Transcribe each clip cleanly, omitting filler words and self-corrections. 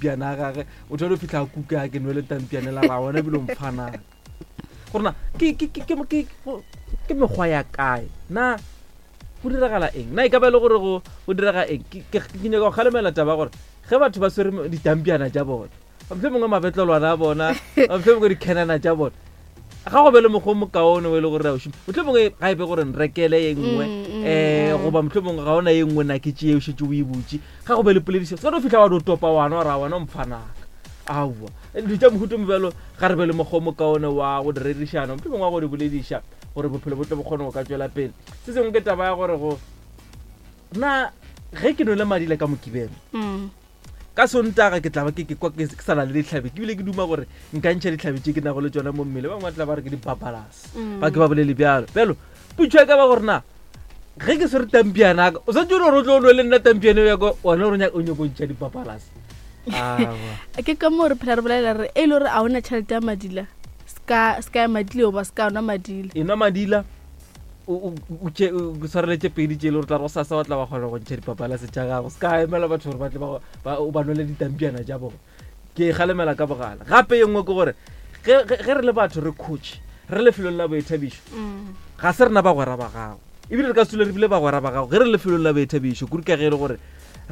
matampiana a gage motho a no fitlha a kuka a ke nwele tampiane la ra wena ebile o mfanang gorena ke mekgwa ya kae na go diragala eng na e ka ba e le gore go direga eng ke nyaka go kgalemela taba gore ge batho ba swere ditampiana tša bona motlho mongwe mabetlelwana a bona motlho mongwe dikhenana tša bona ga go be le mokgwa o mokaone o e le gore o šoma motlho mongwe ga e be gore nrekele ye nngwe um goba motlho mongwe ga ona ye nngwe na ke tšee o šetse o e butše ga go be le poledišo se ka no fitlha wa no topa wana wa ra wana o mfanaka aowa dilo tša mohuto mobjalo ga re be le mokgwa o mokaone wa go di rerišana motlho mongwe wa go di bolediša gore bophelo bo tle bo kgone go ka tšwela pele se sengwe ke taba ya gore go na ge ke nole madila ka mokibelo mm. Ka Sontaga ke tla ba ke ke kwa ke sa na le dihlabi, ke bile ke duma gore nka ntšha dihlabi tše ke nago le tšona mo mmele. Ba bangwe ba tla ba re ke dipapalas, mm. ba ke ba bolele bjalo. Bjalo putšo ya ka ba gore na ge ke swere tampiana ka o santse o le gore o tlo o nwe le nna tampiana ya ka wena gore o nyako ntšha dipapalas. Ke ka moo re phela re bolela re e le gore a ona tšhelete ya madila ska ska ya madila goba ska nwa madila e nwa madila o tshwareletše pedi tše le gore tla re go sasa wa tla wa kgona go ntšha dipapalase tša gago se ka emela batho gore ba tle o ba nwele ditampiana tša bona ke e galemela ka bogala gape ye nngwe ke gore ge re le batho re khotše re lefelong la boithabišo mm. ga se rena bagwera ba gago ebile re ka se dule re bile bagwera ba gago ge re lefelong la boithabišo kudu ka ge e le gore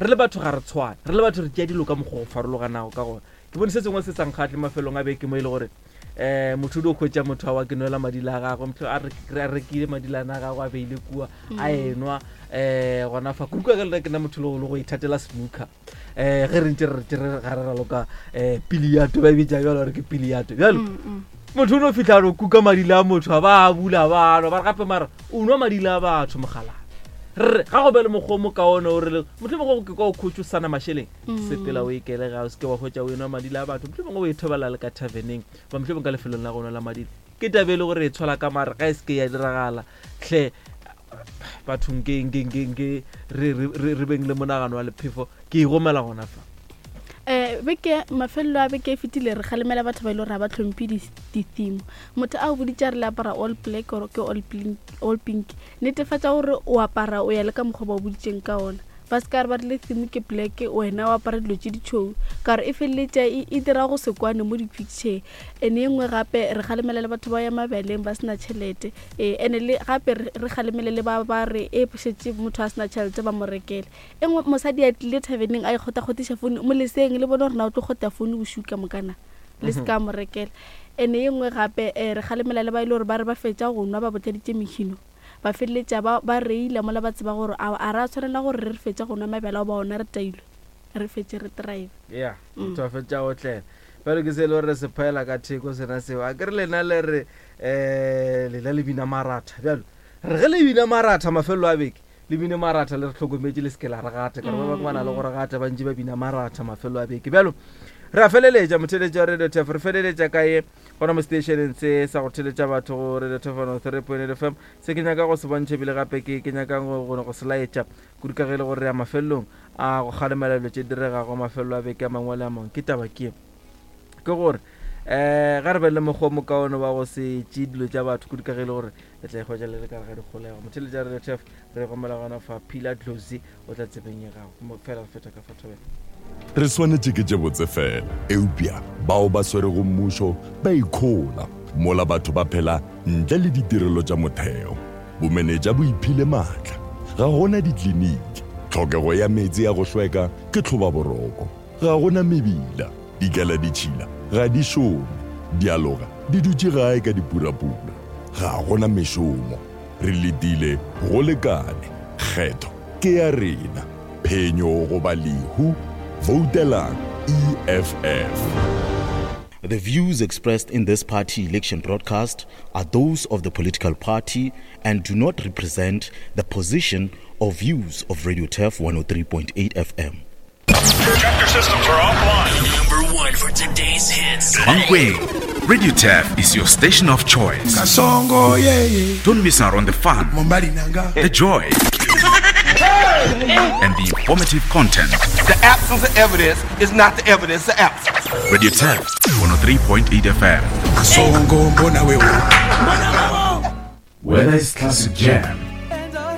re le batho ga re tshwane re le batho re tšea dilo ka mokgwa go farologanago ka gona ke bone se sengwe se sa nkgatle mafelong a beke mo e le gore um motho o dio hwetša motho awa ke nwela madila a gagwe motho a rekile madilana a gagwe a beile kua a mm. enwa um gona fa kudu ka ge lena ke na motho le go ithatela snooker um ge re ntse re re ga re raloka um piliato ba e bitša bjalo gore ke piliato bjalo mm, mm. motho o no fitlha no kuka madila a motho a ba a bula ba nwa ba re gape mara o nwa madila a batho mogalana re ga go be le mokgwa o mokaone o re motho mongwe ke kwa o khotse o sana mašeleng mm. sepela o ikele ga o seke wa hwetša o enwa madila a batho mohlomongwe o e thobela le ka taverneng ba mohlomongwe ka lefelong la go nwa la madila ke tabe e le gore e tshwala ka mare ga e seke ya diragala hle bathong ke nke nke nke re re re beng le monagano wa lephefo ke e gomela gona fa um beke mafelelo a beke e fetile re kgalemela batho ba e le gore ga ba tlhomphe di-theme motho a o boditse a re le apara all black or ke all pink netefatša gore o apara o ya le ka mokgwa ba o boditseng ka ona Ba se ka re ba rile theme ke black wena o apara dilo tše ditšhweu ka gore e feleletša e, e dira go se kwane mo di-picture. Ene e nngwe gape re kgalemela le batho ba ya mabeleng ba sena tšhelete ee ene le gape re kgalemele le ba ba re e šetše motho a sena tšhelete ba mo rekele. E nngwe mosadi a tlile thaveneng a ikgotakgotiša founu mo leseng le bone gore na o tlo kgota founu bošiu ka moka na le se ka mo rekela. Ene e nngwe gape re kgalemela le ba e le gore ba re ba fetša go nwa ba botladitše mehino. Ba feleletša ba, ba reila mola ba tseba gore a, a ra tshwanela gore re re fetša go nwa mabjala goba ona re tailwe, re fetše re drive. Ya, motho a fetša go otlela. Bjalo ke se e le gore re se phaela ka theko sena seo. A ke re lena le re um lena le bina maratha. Bjalo re ge le bina maratha mafelelo a beke, le bine maratha le re hlokometše le se ke la re gata. Ka re ba bangwe ba na le go re gata ba ntše ba bina maratha mafelelo a beke. Bjalo re a feleletša motheeletši wa Radio Turf, re feleletša ka ye. Gona mo seteišeneng se sa go theletša batho go Radio Thofano 3.8 FM, se ke nyaka go se bontšha ebile gape ke, ke nyakang go, go, go se laetša, kudu ka ge e le gore re ya mafelelong a go kgalemela dilo tše diregago mafelelo a beke a mangwe le a mangwe. Ke taba ke, ke gore um ga re be le mokgwa o mokaone wa go se tšee dilo tša batho, kudu ka ge e le gore le tla ikhwetša le le ka gare ga dikgolego. Motheletša wa Radio Turf, re gomela gona fa Phila Dlozi o tla tsebeng ya gago. Fela re feta ka fa thobela. Re swanetše ke tše botse fela, eupša bao ba swerego mmušo ba ikhola mola batho ba phela ntle le ditirelo tša motheo. Bomenetša bo iphile maatla. Ga go na dikliniki. Tlhokego ya meetse a go hlweka ke tlhobaboroko. Ga go na mebila. Dikeladitšhila ga di šome. Dialoga di dutše gae ka dipurapura. Ga go na mešomo. Re letile go lekane. Kgetho ke ya rena. Phenyo goba lehu. Voutelang EFF. The views expressed in this party election broadcast are those of the political party and do not represent the position or views of Radio Turf 103.8 FM. Chapter systems are offline. Number one for today's hits. Mankweng, Radio Turf is your station of choice. Kasongo, yeah, yeah. Don't miss out on the fun, the joy, and the informative content. The absence of evidence is not the evidence of absence. Radio Turf 103.8 FM. Kasongo, mbona wewe. Whether it's classic jam,